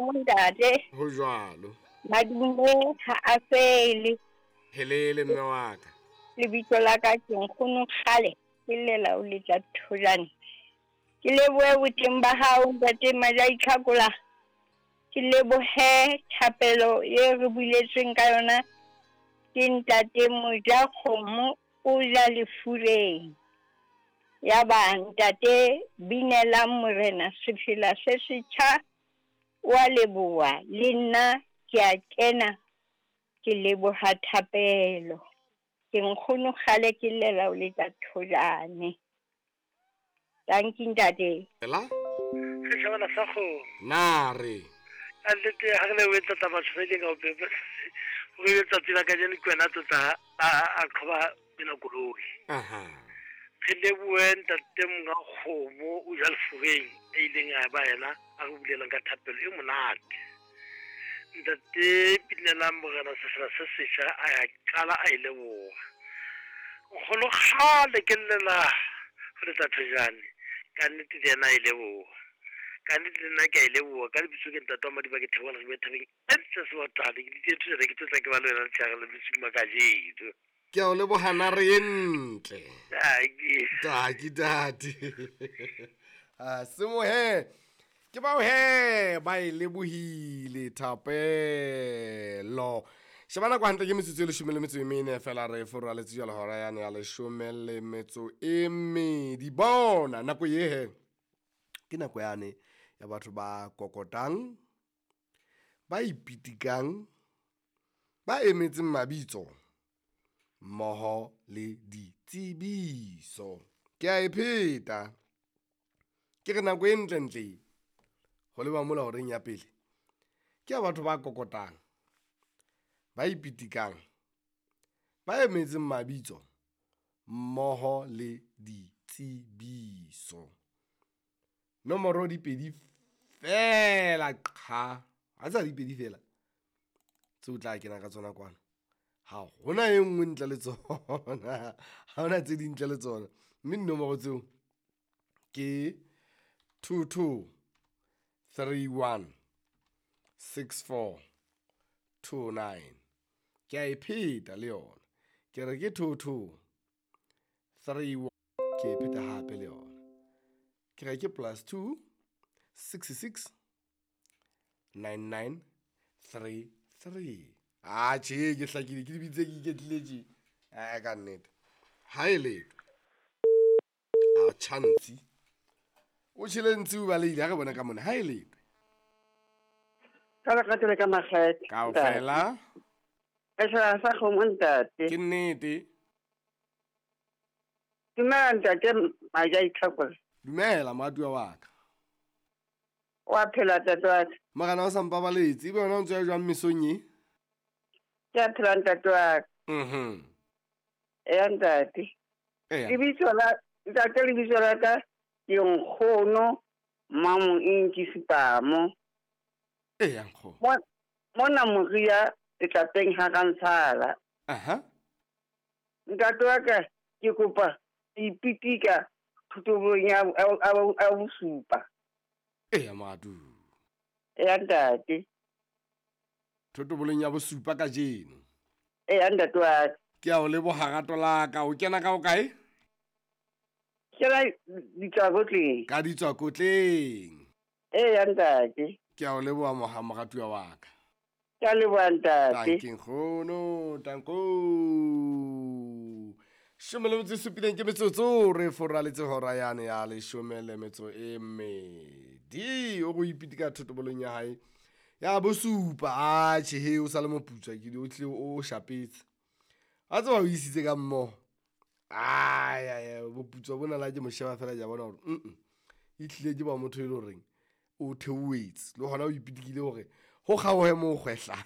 kgomo ntate. Ho jwalo. Madume ha a fele. Helele mme wa ka. Lebitso la ka ke nkgono kgale ke llela o letla thojane. Ke lebohe boteng ba hao ntate Maja Itlhakola. Ke lebohe thapelo e re buletsweng ka yona ke ntate Moja Kgomo o ja lefureng. Ya ba ntate binelang morena sefela se setjha wa leboha le nna ke a kena ke leboha thapelo. Ke nkgono kgale ke llela o letla thojane. Tanki ntate. Ela? Setjhabana sa kgomo. Na re. Ka nnete ha re lebohe tlotla batho ba ileng ka o pepa. Gore letsatsi la kajeno ke wena tlotla a qhoba ena koloi. Aha. Re lebohe ntate monga kgomo o ja lefureng a ileng a ba yena a re bulelang ka thapelo e monate. Ntate Pinelang morena sefela se setjha a ya qala a e leboha. Nkgono kgale ke llela ho letsa thojane ka nnete le yena a e leboha. Ka nnete le nna ke a e leboha ka lebitso ke ntate wa Madiba ke theohela re thabeng e ntle sebatane ke ditse thojane ke tlotla ke ba le wena letshehare le bosiu ba kajeno. Ke a o leboha nare e ntle. Taki. Taki tate. Ah, semohe. Ke bao he ba e lebohile thapelo. Sheba nako hantle ke metsotso e leshome le metso e mene fela re foraletse jwale hora yane ya leshome le metso e mmedi. Bona nako ye he ke nako yane ya batho ba kokotang, ba ipitikang, ba emetseng mabitso mmoho le ditsebiso. Ke a e pheta ke re nako e ntlentle ho leba mola horeng ya pele ke ya batho ba kokotang, ba ipitikang, ba emetseng mabitso mmoho le ditsebiso. Nomoro di pedi fela qha. Ha tsa di pedi fela tseo tla kena ka tsona kwano. Ha hona e nngwe ntle le tsona. Ha hona tse ding ntle le tsona. Mme dinomoro tseo ke 22 31 64 29. Ke a e pheta le yona. Ke re ke 22 31 ke e pheta hape le yona. Ke re ke +2 66 99 33. Ah, tjhe, ke hlakile ke dibitse ke iketlile tje. Eh, ka nnete. Ha e letho. A chance. O tjhele ntsi o balehile ha re bona ka mona. Ha e letho. Ka lerato le ka makgethe. Kaofela. Setjhaba sa kgomo ntate. Ke nnete. Dumela ntate Maja Itlhakola. Dumela moratuwa wa ka. Wa phela ntate wa ka. Morena o sa mpabaletse ebe wena o ntse o ya jwang mesong e? Ke a phela ntate wa ka. Mhm. Eya ntate. Eya. Lebitso la ntate lebitso la ka ke nkgono Mmamoinki Sepamo. Eya nkgono. Mona Moria letlapeng ha Rantshala. Aha. Ntate wa ka ke kopa ipitika thutobong ya bosupa. Eya moratuwa. Eya ntate. Thotobolong ya bosupa kajeno. Eya ntate wa ka. Ke a o leboha rato la ka. O kena ka o kae? Kena ditswakotleng. Ka ditswakotleng. Eya ntate. Ke a o leboha moha moratuwa wa ka. Ke a leboha ntate. Tanki nkgono, tanko. Shome le metso e supileng ke metsotso re foraletse hora yane ya leshome le metso e mmedi. O go ipitika thotobolong ya hae ya bosupa. A tjhe he o sa le moputswa ke o tlile o shapetse. A tseba o isitse ka mmoho. Ai ai boputswa bona la ke mo sheba fela ja bona hore e tlile ke ba motho e le horeng o theohetse le hona o ipitikile hore ho kgaohe mo kgwehla.